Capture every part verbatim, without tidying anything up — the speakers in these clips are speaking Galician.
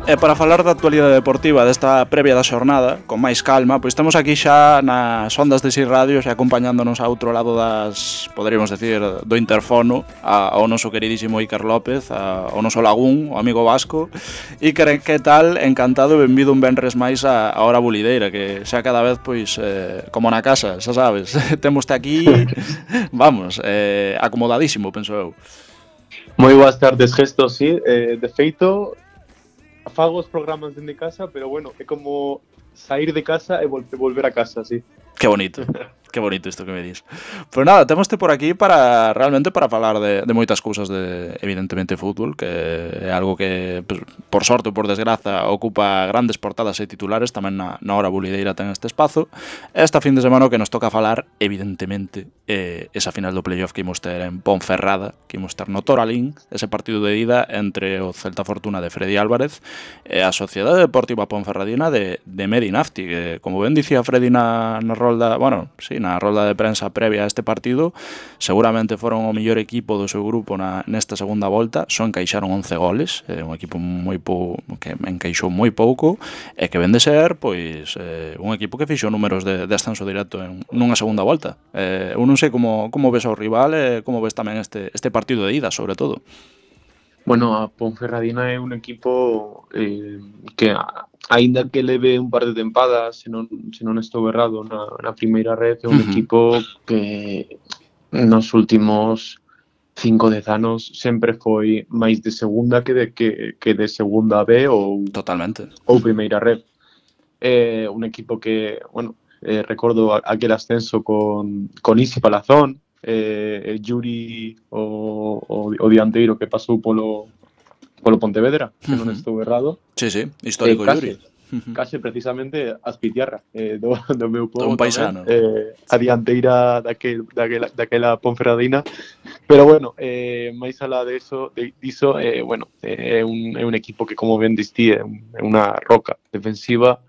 E para falar da actualidade deportiva desta previa da xornada, con máis calma, pois estamos aquí xa nas ondas de Six Radio, xa acompañándonos a outro lado das, poderíamos decir, do interfono, a, ao noso queridísimo Iker López, a, ao noso Lagún, o amigo vasco. Iker, que tal? Encantado e benvido un venres máis a, a Hora Bulideira, que xa cada vez, pois, eh, como na casa, xa sabes, temoste aquí, vamos, eh, acomodadísimo, penso eu. Moi boas tardes, Gesto, sí, eh, de feito fago os programas dende casa, pero bueno, é como sair de casa e vol- volver a casa, sí. Que bonito, que bonito isto que me dis. Pois nada, temoste por aquí para realmente para falar de, de moitas cousas de, evidentemente, fútbol, que é algo que, pues, por sorte ou por desgraza, ocupa grandes portadas e titulares, tamén na, na Hora Bulideira ten este espazo. Esta fin de semana o que nos toca falar, evidentemente, é esa final do playoff que imos ter en Ponferrada, que imos ter no Toralín, ese partido de ida entre o Celta Fortuna de Freddy Álvarez e a Sociedade Deportiva Ponferradina de, de Medi Nafti, que, como ben dicía Freddy na, na rolda, bueno, sí, na rolda de prensa previa a este partido, seguramente foron o mellor equipo do seu grupo na, nesta segunda volta, só encaixaron once goles, é un equipo moi pou, que encaixou moi pouco, e que ven de ser, pois, eh, un equipo que fixo números de, de ascenso directo en nunha segunda volta. Eh, eu non sei como, como ves ao rival e como ves tamén este, este partido de ida, sobre todo. Bueno, a Ponferradina é un equipo eh, que, a- aínda que leve un par de tempadas, se non, se non estou errado, na, na primeira red, é un Ujú. equipo que nos últimos cinco, dez anos sempre foi máis de segunda que de, que, que de segunda B ou, Totalmente. ou primeira red. É un equipo que, bueno, eh, recordo a- aquel ascenso con, con Isi Palazón, eh, e Yuri, o, o, o dianteiro que pasou polo, polo Pontevedra, se non Ujú. estou errado. Sí, sí, Eh, histórico Yuri. case, case precisamente Azpitiarra, eh, do, do meu Un povo paisano. tamén, eh, a dianteira daquel, daquela, daquela Ponferradina. Pero bueno, eh, máis alá de eso, de, diso, eh, bueno, eh, é un, é un equipo que, como ben distí, é un- é unha roca defensiva,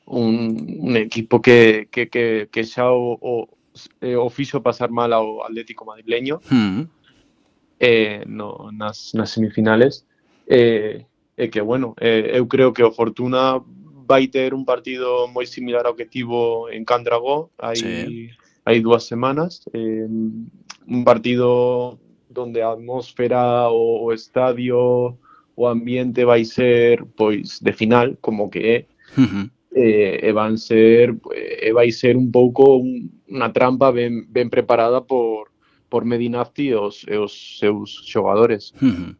un, un equipo que, que, que, que xa o, o, eh, o fixo pasar mal ao Atlético madrileño, Ujú. eh, no, nas, nas semifinales, eh, e que, bueno, eh, eu creo que o Fortuna vai ter un partido moi similar ao que tivo en Candragó hai, Sí. hai dúas semanas, eh, un partido donde a atmósfera, o, o estadio, o ambiente vai ser, pois, de final, como que é, Ujú. eh, e van ser, e vai ser un pouco un, unha trampa ben, ben preparada por, por Medinafti e os, e os seus xogadores. Ujú.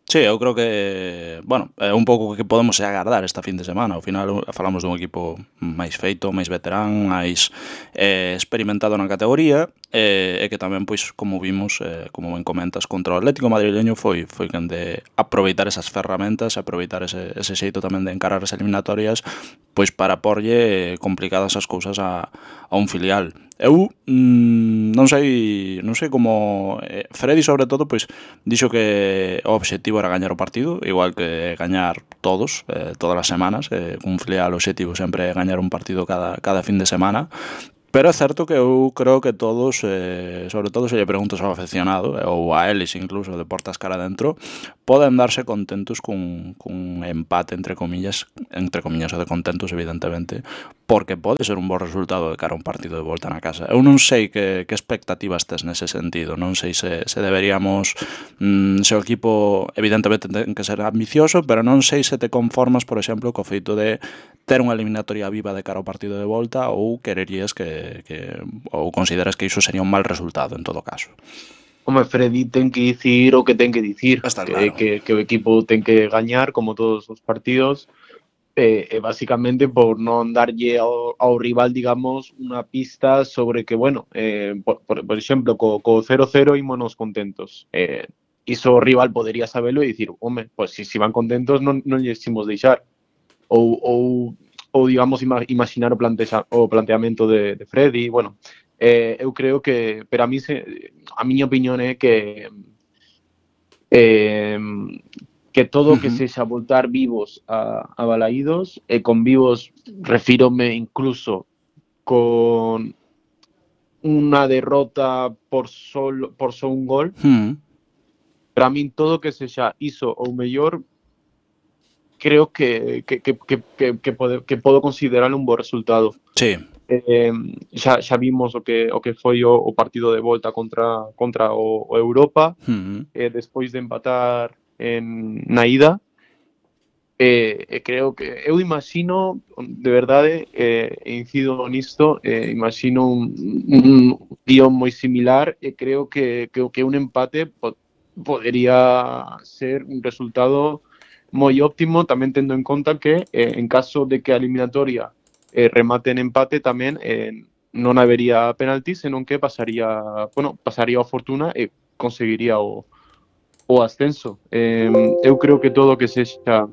Sí, eu creo que, bueno, é un pouco o que podemos agardar esta fin de semana. Ao final falamos dun equipo máis feito, máis veterán, máis eh, experimentado na categoría, e, e que tamén, pois, como vimos, eh, como ben comentas, contra o Atlético madrileño foi foi quen de aproveitar esas ferramentas, aproveitar ese, ese xeito tamén de encarar as eliminatorias, pois para porlle complicadas as cousas a, a un filial. Eu mm, non sei non sei como eh, Freddy, sobre todo, pois dixo que o obxectivo era gañar o partido, igual que gañar todos, eh, todas as semanas, eh, un filial obxectivo sempre é gañar un partido cada, cada fin de semana. Pero é certo que eu creo que todos, eh, sobre todo se lle preguntas ao aficionado, eh, ou a eles incluso, de portas cara dentro, poden darse contentos cun, cun empate, entre comillas, entre comillas o de contentos, evidentemente, porque pode ser un bo resultado de cara a un partido de volta na casa. Eu non sei que, que expectativas tes nese sentido, non sei se, se deberíamos, mm, se o equipo evidentemente ten que ser ambicioso, pero non sei se te conformas, por exemplo, co feito de ter unha eliminatoria viva de cara ao partido de volta, ou quererías que, que ou consideras que iso sería un mal resultado en todo caso. Home, Freddy ten que dicir o que ten que dicir, Está que, claro. que, que o equipo ten que gañar como todos os partidos, e, e basicamente por non darlle ao, ao rival, digamos, unha pista sobre que, bueno, eh, por, por, por exemplo, co, co cero cero ímonos contentos. Eh, iso o rival podería sabelo e dicir, home, pois pues, se si van contentos non, non lles imos deixar. Ou, ou, ou digamos, ima, imaginar o, plantea, o planteamento de, de Freddy, bueno, eh, eu creo que, pero a mí se, a miña opinión é que eh, que todo o que Ujú. sexa voltar vivos a, a Balaídos, e con vivos refírome incluso con unha derrota por solo, por só un gol. Mm. Para min todo o que sexa iso ou mellor creo que, que, que, que, que, que, pode, que podo considerar un bo resultado. Sí. Eh, xa, xa vimos o que o que foi o, o partido de volta contra contra o, o Europa, Uh-huh. eh, despois de empatar en na ida. E, e creo que eu imagino, de verdade, eh, incido nisto, eh, imagino un, un guión moi similar e creo que, que, que un empate po, podería ser un resultado moi óptimo, tamén tendo en conta que eh, en caso de que a eliminatoria eh, remate en empate tamén eh, non habería penalti, senón que pasaría, bueno, pasaría a Fortuna e conseguiría o, o ascenso. Eh, eu creo que todo o que sexa,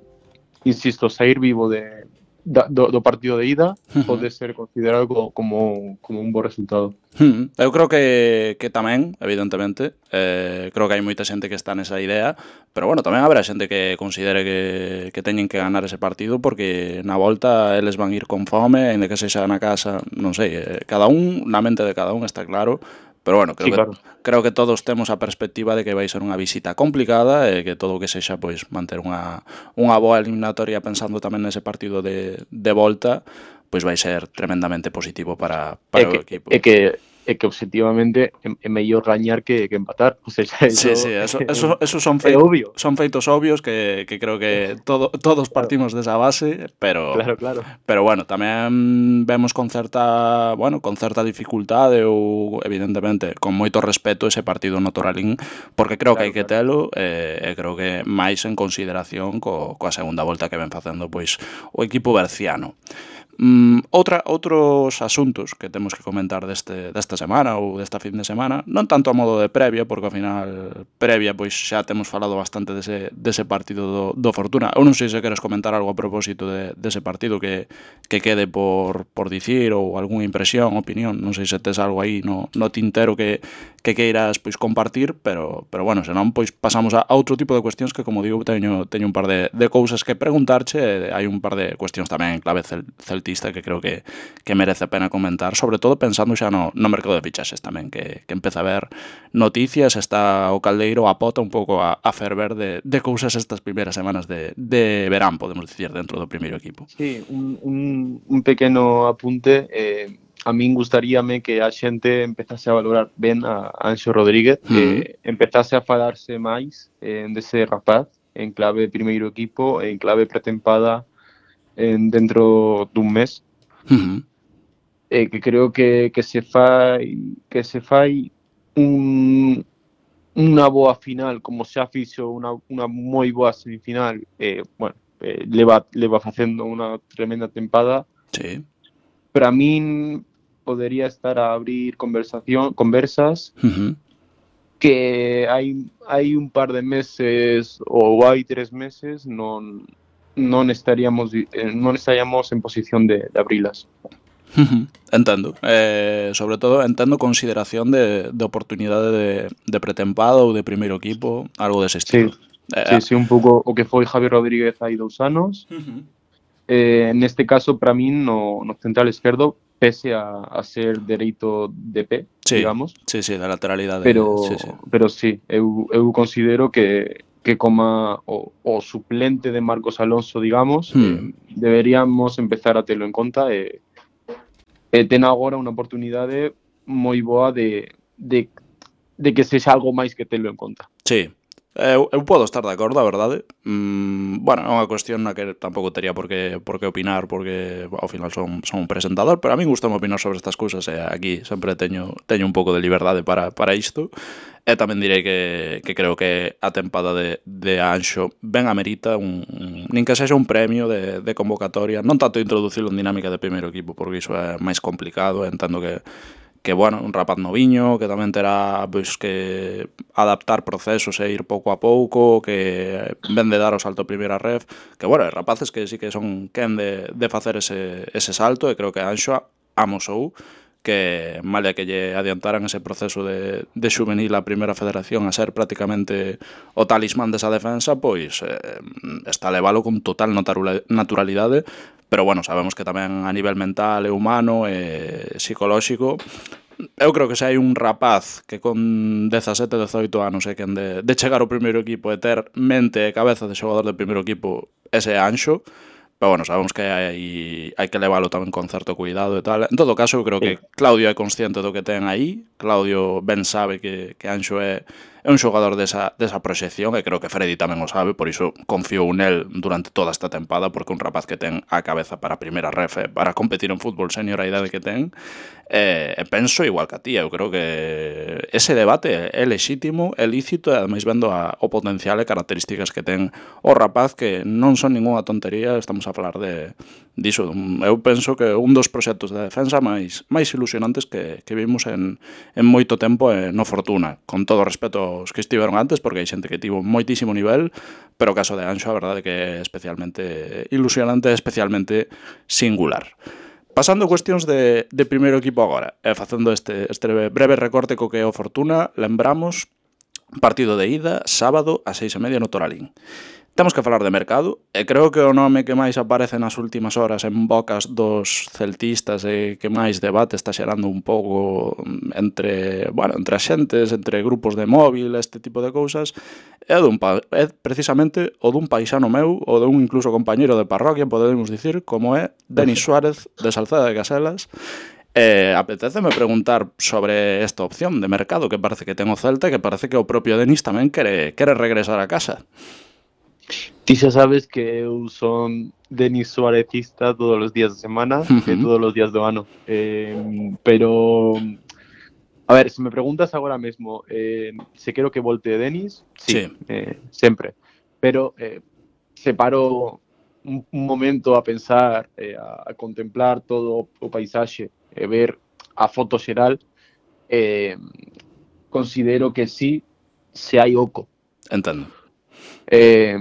insisto, sair vivo de, da, do, do partido de ida Uh-huh. pode ser considerado como, como, como un bo resultado. Hmm. Eu creo que, que tamén, evidentemente, eh, creo que hai moita xente que está nesa idea, pero bueno, tamén haberá xente que considere que, que teñen que ganar ese partido porque na volta eles van ir con fome, ainda que sexa na casa, non sei, eh, cada un, na mente de cada un está claro, pero bueno, creo Sí, que claro. creo que todos temos a perspectiva de que vai ser unha visita complicada e que todo o que sexa pois manter unha, unha boa eliminatoria pensando tamén nese partido de, de volta, pois vai ser tremendamente positivo para, É para o que, equipo. é que, é que objetivamente é, é mellor gañar que, que empatar. O sea, Sí, sí, eso eso, é, eso, eso son, é fei, obvio. son feitos obvios que, que creo que todo, todos Claro, partimos desa base, pero claro, claro. pero bueno, tamén vemos con certa, bueno, con certa dificultade ou evidentemente con moito respeto ese partido no Toralín, porque creo que hai Claro, que claro. telo e, e creo que máis en consideración co, coa segunda volta que ven facendo pois o equipo berciano. Mm, outra, outros asuntos que temos que comentar deste, desta semana ou desta fin de semana, non tanto a modo de previa, porque ao final previa pois xa temos falado bastante dese, dese partido do, do Fortuna. Eu non sei se queres comentar algo a propósito de, dese partido que, que quede por, por dicir ou algunha impresión, opinión, non sei se tes algo aí no, no tintero que, que queiras pois compartir, pero, pero bueno, senón pois pasamos a, a outro tipo de cuestións que, como digo, teño, teño un par de, de cousas que preguntarche, e hai un par de cuestións tamén en clave cel, celtista que creo que, que merece a pena comentar, sobre todo pensando xa no, no mercado de fichaxes tamén, que, que empeza a ver noticias, está o caldeiro a pota un pouco a, a ferver de, de cousas estas primeiras semanas de, de verán, podemos dicir, dentro do primeiro equipo. Sí, un, un, un pequeno apunte. Eh, a min gustaríame que a xente empezase a valorar ben a Anxo Rodríguez, Uh-huh. eh, empezase a falarse máis eh, dese rapaz en clave primeiro equipo, en clave pretempada en dentro dun mes. Uh-huh. Eh, que creo que, que se fai que se fai un, unha boa final, como xa fixo unha, unha moi boa semifinal, eh, bueno, eh, leva, leva facendo unha tremenda tempada. Sí. Para min podería estar a abrir conversación, conversas Uh-huh. que hai, hai un par de meses ou hai tres meses non, non estaríamos eh, non estaríamos en posición de, de abrilas. Uh-huh. Entendo. Eh, sobre todo, entendo consideración de, de oportunidade de, de pretempada ou de primeiro equipo, algo dese Sí, estilo. Eh, sí, sí, un pouco o que foi Javier Rodríguez hai dous anos. Uh-huh. Eh, neste caso, para min, no, no central esquerdo, pese a, a ser dereito de pé, Sí, digamos, sí, sí, da lateralidade. pero Sí, sí. pero sí, eu, eu considero que, que como o, o suplente de Marcos Alonso, digamos, Hmm. eh, deberíamos empezar a telo en conta e, e ten agora unha oportunidade moi boa de, de, de que sexa algo máis que telo en conta. Sí. Eu, eu podo estar de acordo, a verdade. Mm, bueno, é unha cuestión na que tampouco teria por que, por que opinar, porque ao final son, son un presentador, pero a mí gusta opinar sobre estas cousas e aquí sempre teño, teño un pouco de liberdade para, para isto. E tamén direi que, que creo que a tempada de, de Anxo ben amerita un, un, nin que sexa un premio de, de convocatoria, non tanto introducilo en dinámica de primeiro equipo, porque iso é máis complicado, entendo que que, bueno, un rapaz noviño, que tamén terá pois, que adaptar procesos e ir pouco a pouco, que ven de dar o salto a primeira ref, que, bueno, rapaces que sí que son quen de, de facer ese, ese salto, e creo que Anxo amosou que, male que lle adiantaran ese proceso de, de xuvenil a primeira federación a ser prácticamente o talismán desa defensa, pois eh, está a levalo con total naturalidade, pero bueno, sabemos que tamén a nivel mental e humano e psicolóxico, eu creo que se hai un rapaz que con dezasete, dezoito anos é quen de, de chegar ao primeiro equipo e ter mente e cabeza de xogador de primeiro equipo ese Anxo, pero bueno, sabemos que hai, hai que leválo tamén con certo cuidado e tal. En todo caso, eu creo Sí. que Claudio é consciente do que ten aí, Claudio ben sabe que, que Anxo é, é un xogador desa, desa proxección, e creo que Freddy tamén o sabe, por iso confiou nel durante toda esta tempada, porque un rapaz que ten a cabeza para a primeira ref, para competir en fútbol senior a idade que ten, e, e penso igual que a ti, eu creo que ese debate é lexítimo, é lícito, e ademais vendo a, o potencial e características que ten o rapaz, que non son ninguna tontería, estamos a falar de diso. Eu penso que un dos proxectos de defensa máis máis ilusionantes que, que vimos en, en moito tempo eh, no Fortuna, con todo o respeto aos que estiveron antes, porque hai xente que tivo moitísimo nivel, pero o caso de Anxo a verdade que é especialmente ilusionante, especialmente singular. Pasando a cuestións de, de primeiro equipo agora, e facendo este, este breve recorte co que é o Fortuna, lembramos partido de ida, sábado, a seis e media no Toralín. Temos que falar de mercado, e creo que o nome que máis aparece nas últimas horas en bocas dos celtistas e que máis debate está xerando un pouco entre, bueno, entre as xentes, entre grupos de móvil, este tipo de cousas, é, dun, é precisamente o dun paisano meu, ou dun incluso compañeiro de parroquia, podemos dicir, como é Denis Suárez, de Salceda de Caselas. Eh, apeteceme preguntar sobre esta opción de mercado que parece que ten o Celta, e que parece que o propio Denis tamén quere, quere regresar a casa. Ti xa sabes que eu son Denis Suárezista todos os días de semana, uh-huh. e todos os días do ano. Eh, pero, a ver, se me preguntas agora mesmo eh, se quero que volte Denis, sí, sí. Eh, sempre. Pero eh, se paro un, un momento a pensar, eh, a, a contemplar todo o paisaxe e ver a foto xeral, eh, considero que sí, se hai oco. Entendo. Eh,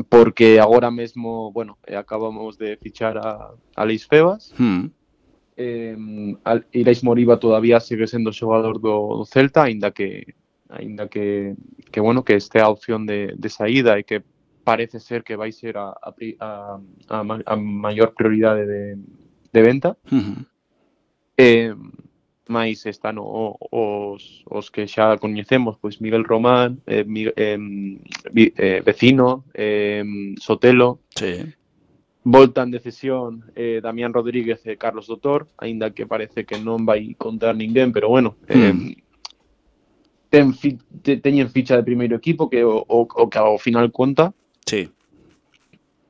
porque agora mesmo, bueno, eh, acabamos de fichar a, a Leis Febas. Mm. Eh, Irais Moriba todavía sigue sendo xogador do, do Celta, aínda que aínda que, que bueno, que este a opción de, de saída e que parece ser que vai ser a, a, a, a maior prioridade de, de venta. Mm-hmm. Eh, máis están o, os, os que xa coñecemos, pois Miguel Román, eh, eh, eh, Vecino, eh, Sotelo, sí. voltan de cesión eh, Damián Rodríguez e Carlos Doutor, aínda que parece que non vai contar ninguén, pero bueno, eh, mm. ten fi, te, teñen ficha de primeiro equipo que o, o, o que ao final conta. Sí.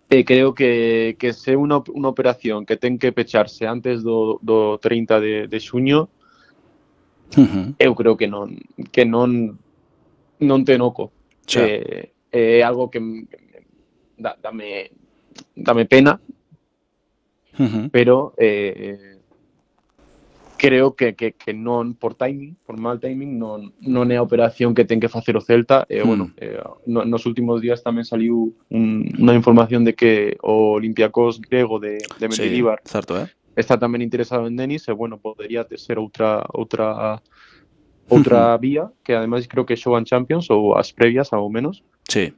E creo que, que se unha, unha operación que ten que pecharse antes do, do trinta de, de xuño, uh-huh. eu creo que non que non non ten oco. É eh, eh, algo que, que dá, dame dame pena, uh-huh. pero eh, creo que, que, que non por timing, por mal timing, non, non é a operación que ten que facer o Celta. E, uh-huh. bueno, eh, no, nos últimos días tamén saliu un, unha información de que o Olympiacos grego de, de Mendilibar sí, certo, eh? está tamén interesado en Denis, e, bueno, podería ser outra outra outra uh-huh. vía, que ademais creo que xogan Champions ou as previas, ao menos. Sí.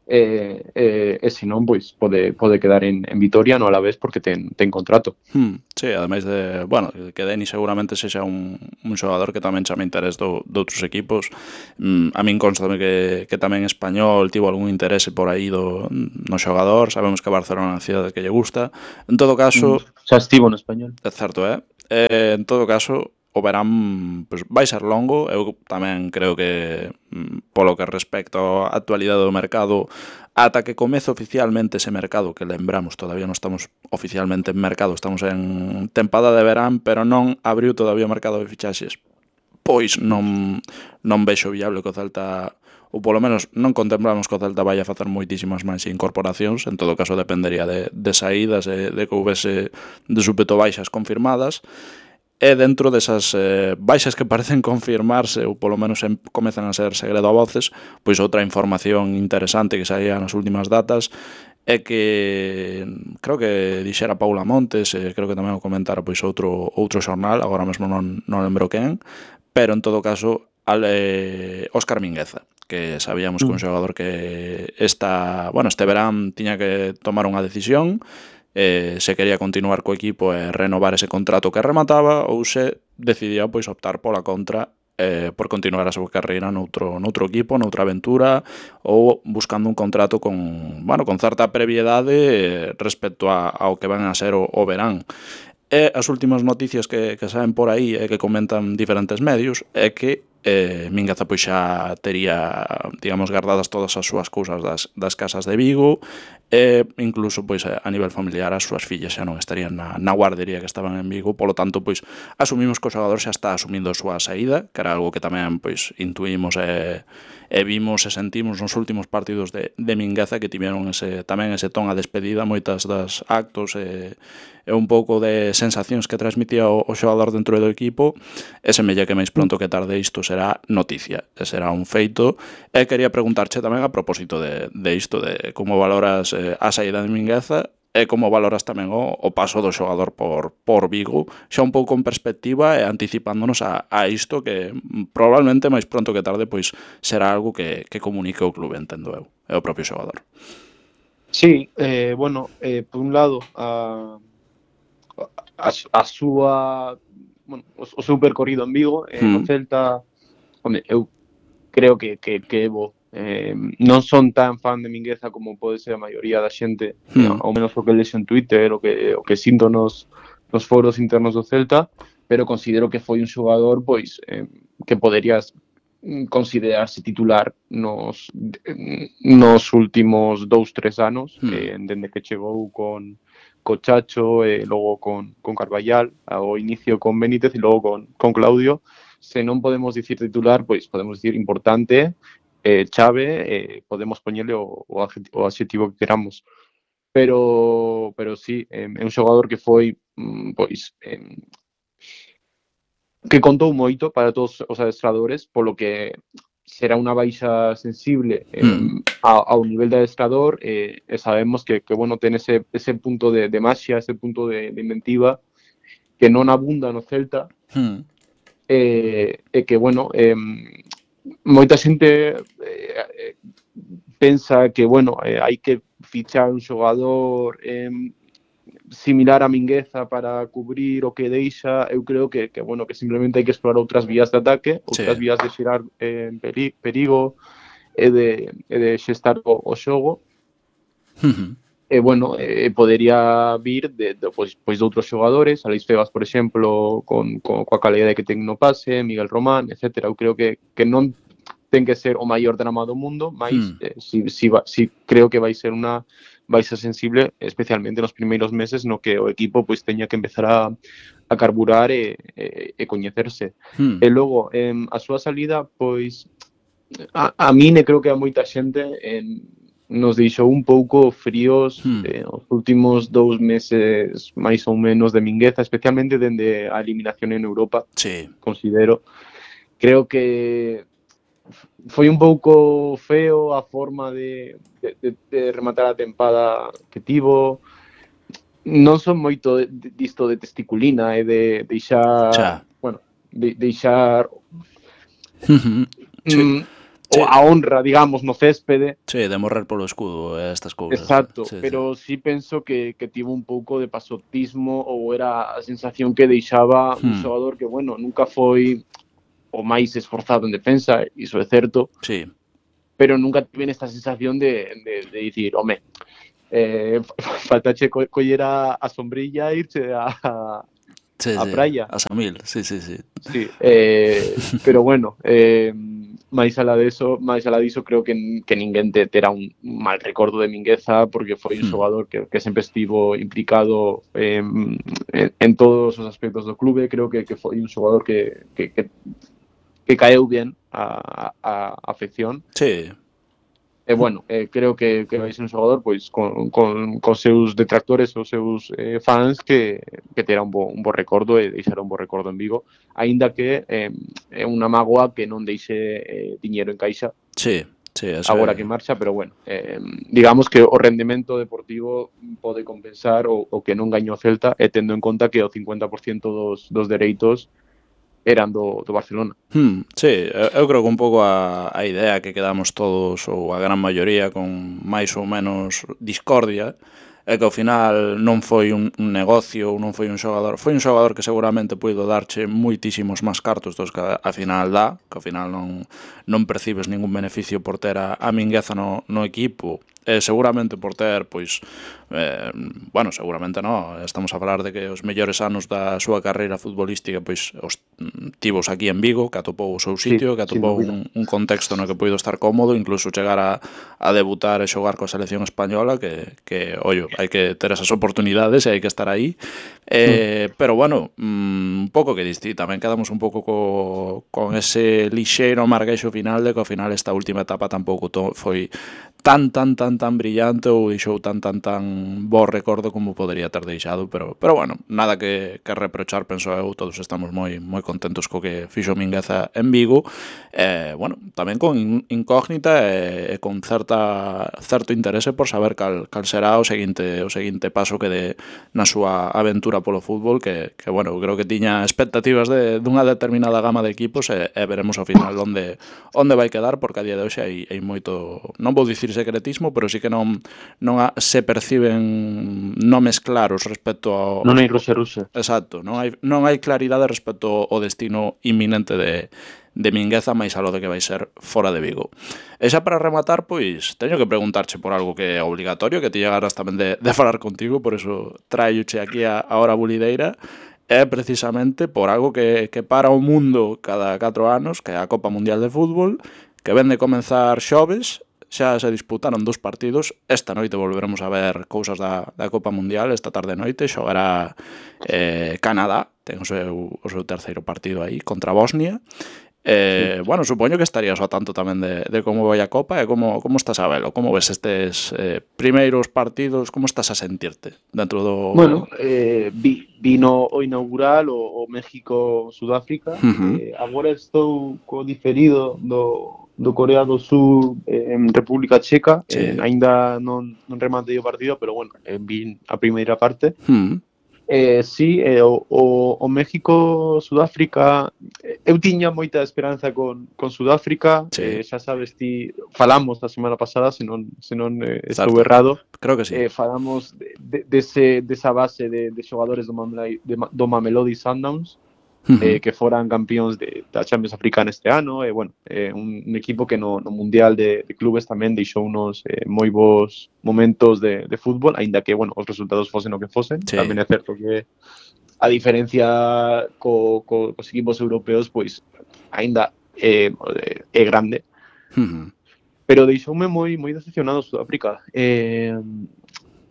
E, e, e se non, pois, pode, pode quedar en, en Vitoria, no a la vez, porque ten, ten contrato. Hmm, sí, ademais de, bueno, que Denis seguramente sexa un, un xogador que tamén chame interés do, de outros equipos. Mm, a min constame que, que tamén Español tivo algún interese por aí do, no xogador. Sabemos que Barcelona é unha cidade que lle gusta. En todo caso... Mm, xa estivo no Español. É certo, é? Eh, en todo caso, o verán pues, vai ser longo. Eu tamén creo que polo que respecto á actualidade do mercado, ata que comece oficialmente ese mercado, que lembramos, todavía non estamos oficialmente en mercado, estamos en tempada de verán, pero non abriu todavía o mercado de fichaxes, pois non, non vexo viable que o Celta, ou polo menos non contemplamos que o Celta vai a facer moitísimas máis incorporacións. En todo caso dependería de, de saídas, de, de que houvese de súpeto baixas confirmadas. E dentro desas eh, baixas que parecen confirmarse, ou polo menos en, comezan a ser segredo a voces, pois outra información interesante que saía nas últimas datas é que creo que dixera Paula Montes, e creo que tamén o comentara pois outro outro xornal, agora mesmo non, non lembro quen, pero en todo caso ale, Óscar Mingueza, que sabíamos que un xogador que esta, bueno, este verán tiña que tomar unha decisión, eh, se quería continuar co equipo e renovar ese contrato que remataba, ou se decidía pois optar pola contra eh, por continuar a súa carreira noutro, noutro equipo, noutra aventura ou buscando un contrato con, bueno, con certa previedade eh, respecto a, ao que van a ser o, o verán. E as últimas noticias que, que saen por aí e que comentan diferentes medios é que eh, Mingueza pois xa tería, digamos, guardadas todas as súas cousas das, das casas de Vigo e incluso pois a nivel familiar as súas fillas xa non estarían na, na guardería que estaban en Vigo, polo tanto pois asumimos que o xogador xa está asumindo a súa saída, que era algo que tamén pois intuímos e, e vimos e sentimos nos últimos partidos de, de Mingueza, que tiveron ese, tamén ese ton a despedida, moitas das actos e, e un pouco de sensacións que transmitía o, o xogador dentro do equipo, e semella que máis pronto que tarde isto será noticia, e será un feito. E quería preguntarche tamén a propósito de, de isto, de como valoras eh, a saída de Mingueza e como valoras tamén o, o paso do xogador por, por Vigo, xa un pouco en perspectiva e anticipándonos a, a isto que mm, probablemente máis pronto que tarde pois será algo que, que comunique o clube, entendo eu, e o propio xogador. Sí, eh, bueno, eh, por un lado, a, a, a súa, bueno, o, o seu percorrido en Vigo, eh, no Mm. Celta, home, eu creo que, que, que é bo. Eh, non son tan fan de Mingueza como pode ser a maioría da xente, eh, Mm. ao menos o que lexo en Twitter, o que, o que sinto nos, nos foros internos do Celta, pero considero que foi un xogador pois eh, que poderías considerarse titular nos, nos últimos dous, tres anos, Mm. eh, dende que chegou con co Chacho e eh, logo con, con Carballal, ao inicio con Benítez e logo con, con Claudio. Se non podemos dicir titular, pois podemos dicir importante, eh, chave, eh, podemos poñerle o, o, adjetivo, o adxetivo que queramos. Pero, pero sí, eh, é un xogador que foi, pois, eh, que contou moito para todos os adestradores, polo que será unha baixa sensible eh, Mm. ao, ao nivel de adestrador, eh, e sabemos que, que bueno, ten ese, ese punto de, de maxia, ese punto de, de inventiva que non abunda no Celta. Mm. E, e que, bueno, eh, moita xente eh, pensa que, bueno, eh, hai que fichar un xogador eh, similar a Mingueza para cubrir o que deixa. Eu creo que, que, bueno, que simplemente hai que explorar outras vías de ataque, outras Sí. vías de xerar eh, peri perigo e de, e de xestar o, o xogo. Mm-hmm. E, bueno, eh, podería vir de, de, pois, pois de outros xogadores, Aleix Febas, por exemplo, con, con, coa calidade que ten no pase, Miguel Román, etcétera. Eu creo que, que non ten que ser o maior drama do mundo, mas Mm. eh, si, si, va, si creo que vai ser unha baixa sensible, especialmente nos primeiros meses no que o equipo pois teña que empezar a, a carburar e, e, e coñecerse. Mm. E logo, eh, a súa salida, pois, a, a min e creo que a moita xente en nos deixou un pouco fríos Mm. eh, os últimos dous meses máis ou menos de Mingueza, especialmente dende a eliminación en Europa. Sí. Considero, creo que foi un pouco feo a forma de, de, de, de rematar a tempada que tivo. Non son moito de, de, disto de testiculina e de deixar, Xa. bueno, de, deixar Mm-hmm. Sí. mm, Sí. a honra, digamos, no céspede. Sí, de morrer polo escudo e estas cousas. Exacto, Sí, pero sí. sí penso que, que tivo un pouco de pasotismo ou era a sensación que deixaba un Hmm. xogador que, bueno, nunca foi o máis esforzado en defensa, iso é certo, Sí. pero nunca tiven esta sensación de, de, de dicir, home, eh, faltache co coller a, a sombrilla e irche a, a, Sí, a sí, praia. a Samil, sí, sí, sí. Sí, eh, pero bueno, eh, máis alá deso, máis alá diso, creo que, que ninguén te terá un mal recordo de Mingueza, porque foi un Hmm. xogador que, que sempre estivo implicado eh, en, en todos os aspectos do clube. Creo que, que foi un xogador que, que, que, que caeu bien a, a, a afección. Sí. E, bueno, eh, creo que, que vai ser un xogador pois con, con, con seus detractores, os seus eh, fans que, que terá un bo, un bo recordo e deixará un bo recordo en Vigo, aínda que eh, é unha mágoa que non deixe eh, diñeiro en caixa. Sí, sí, eso agora é... que marcha, pero bueno, eh, digamos que o rendemento deportivo pode compensar o, o que non gañou o Celta, e tendo en conta que o cincuenta por ciento dos, dos dereitos eran do, do Barcelona. Hmm, sí, eu, eu creo que un pouco a, a idea que quedamos todos, ou a gran maioría, con máis ou menos discordia, e que ao final non foi un, un negocio, non foi un xogador, foi un xogador que seguramente puido darche moitísimos máis cartos dos que a, a final dá, que ao final non, non percibes ningún beneficio por ter a, a Mingueza no, no equipo, e seguramente por ter, pois, eh, bueno, seguramente non, estamos a falar de que os mellores anos da súa carreira futbolística, pois, os tivos aquí en Vigo, que atopou o seu sitio, Sí, que sin atopou dúbida. un, un contexto no que puido estar cómodo, incluso chegar a, a debutar e xogar coa selección española, que, que ollo, hai que ter esas oportunidades e hai que estar aí, eh, pero bueno, mm, un pouco que diste, tamén quedamos un pouco co, con ese lixeiro amargueixo final de que ao final esta última etapa tampouco to, foi tan, tan, tan, tan brillante ou deixou tan, tan, tan bo recordo como podería ter deixado, pero, pero bueno, nada que, que reprochar, penso eu, todos estamos moi moi contentos co que fixo Mingueza en Vigo, eh, bueno, tamén con incógnita e, e con certa certo interese por saber cal, cal será o seguinte o seguinte paso que dé na súa aventura polo fútbol, que, que bueno, creo que tiña expectativas de dunha determinada gama de equipos e, e veremos ao final onde onde vai quedar, porque a día de hoxe hai, hai moito, non vou dicir secretismo, pero sí que non non a, se perciben nomes claros respecto ao, Non hai ruxe-ruxe. exacto, non hai non hai claridade respecto ao destino inminente de de Mingueza, máis aló de que vai ser fora de Vigo. E xa para rematar, pois, teño que preguntarche por algo que é obligatorio, que ti llegaras tamén de, de falar contigo, por eso traioche aquí a, a hora bulideira, é precisamente por algo que, que para o mundo cada catro anos, que é a Copa Mundial de Fútbol, que ven de comenzar xoves, xa se disputaron dos partidos, esta noite volveremos a ver cousas da, da Copa Mundial, esta tarde noite xogará eh, Canadá, ten o seu, o seu terceiro partido aí, contra Bosnia. Eh, sí. Bueno, supoño que estarías ao tanto tamén de, de como vai a Copa e como, como estás a velo, como ves estes eh, primeiros partidos, como estás a sentirte dentro do... Bueno, eh, vi, vino o inaugural o, o México-Sudáfrica, Uh-huh. eh, agora estou co diferido do, do Corea do Sur eh, en República Checa, Sí. eh, aínda non, non rematei o partido, pero bueno, eh, vi a primeira parte. Uh-huh. Eh, sí, eh, o, o, o México-Sudáfrica, eh, eu tiña moita esperanza con, con Sudáfrica, Sí. eh, xa sabes ti, falamos a semana pasada, se non, se non eh, estou Certo. errado, Creo que sí. eh, falamos de, de, dese, desa base de, de xogadores do, Mamelodi, de, do Mamelodi Sundowns, Uh-huh. eh, que foran campións de, da Champions Africana este ano, e eh, bueno, eh, un, un equipo que no, no Mundial de, de Clubes tamén deixou unos eh, moi bons momentos de, de fútbol, aínda que, bueno, os resultados fosen o que fosen. Sí. Tamén é certo que a diferencia co, co, cos equipos europeos, pois, aínda é, é grande. Uh-huh. Pero deixoume moi moi decepcionado Sudáfrica. Eh,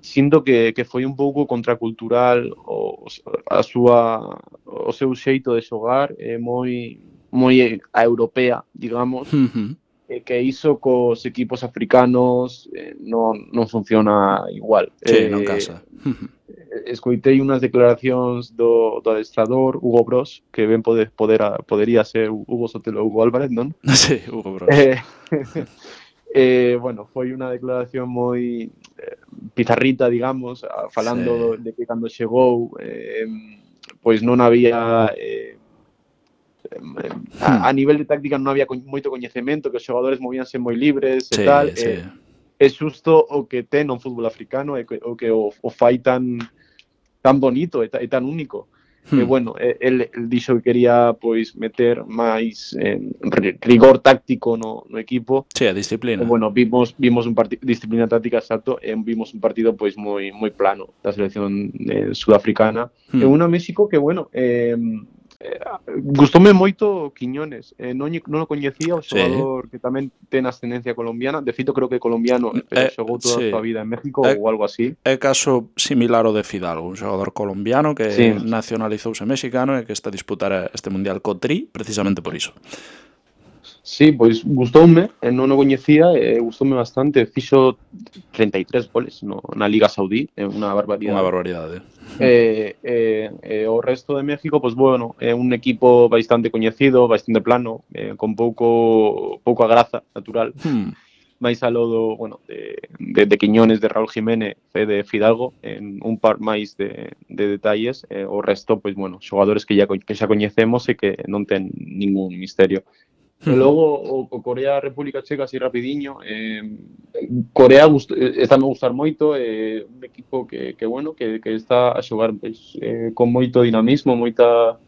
sinto que, que foi un pouco contracultural o, a súa, o seu xeito de xogar, é moi moi a europea, digamos, Uh-huh. e que iso cos equipos africanos eh, non, non funciona igual. Sí, eh, non casa. Uh-huh. Escoitei unhas declaracións do, do adestrador Hugo Bros, que ben pode, poder, podería ser Hugo Sotelo ou Hugo Álvarez, non? Sí, Hugo Bros. Eh, eh, bueno, foi unha declaración moi eh, pizarrita, digamos, falando Sí. de que cando chegou eh, pois non había eh, a, a nivel de táctica non había moito coñecemento, que os xogadores movíanse moi libres e Sí, tal. sí. Eh, é xusto o que ten o fútbol africano e o que o, o fai tan tan bonito e, e tan único. Hmm. E bueno, el, el dixo que quería pois meter máis eh, rigor táctico no, no equipo. Sí, a disciplina. E bueno, vimos vimos un partido disciplina táctica exacto e vimos un partido pois moi moi plano da selección eh, sudafricana. Hmm. E unha México que bueno, eh, eh, gustoume moito Quiñones, eh, non, non o coñecía, o xogador sí. Que tamén ten ascendencia colombiana, de feito creo que colombiano, pero eh, xogou toda sí. a súa vida en México eh, ou algo así. É caso similar ao de Fidalgo, un xogador colombiano que sí. nacionalizouse mexicano e que está a disputar este Mundial co Tri precisamente por iso. Sí, pois gustoume, non o coñecía, e gustoume bastante, fixo treinta e tres goles no, na Liga Saudí, é unha barbaridade. Unha barbaridade. E, e, e o resto de México, pois bueno, é un equipo bastante coñecido, bastante plano, eh, con pouco pouca graza natural. Hmm. máis aló do, bueno, de, de, de Quiñones, de Raúl Jiménez e de Fidalgo, en un par máis de, de detalles, eh, o resto, pois, bueno, xogadores que, ya, que xa coñecemos e que non ten ningún misterio. E logo o, o Corea República Checa así rapidiño, eh, Corea gust, está me gustar moito, é eh, un equipo que, que bueno, que, que está a xogar pues, eh, con moito dinamismo, moita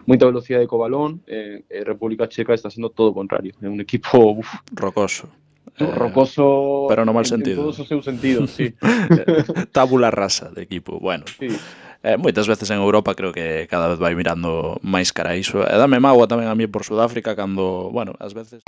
moita velocidade co balón, eh, e República Checa está sendo todo o contrario, é un equipo uf, Rocoso. Eh, rocoso pero no mal en, en sentido. todos os seus sentidos, sí. Tábula rasa de equipo. Bueno, Sí. eh, moitas veces en Europa creo que cada vez vai mirando máis cara a iso. E dame mágoa tamén a mí por Sudáfrica cando, bueno, ás veces...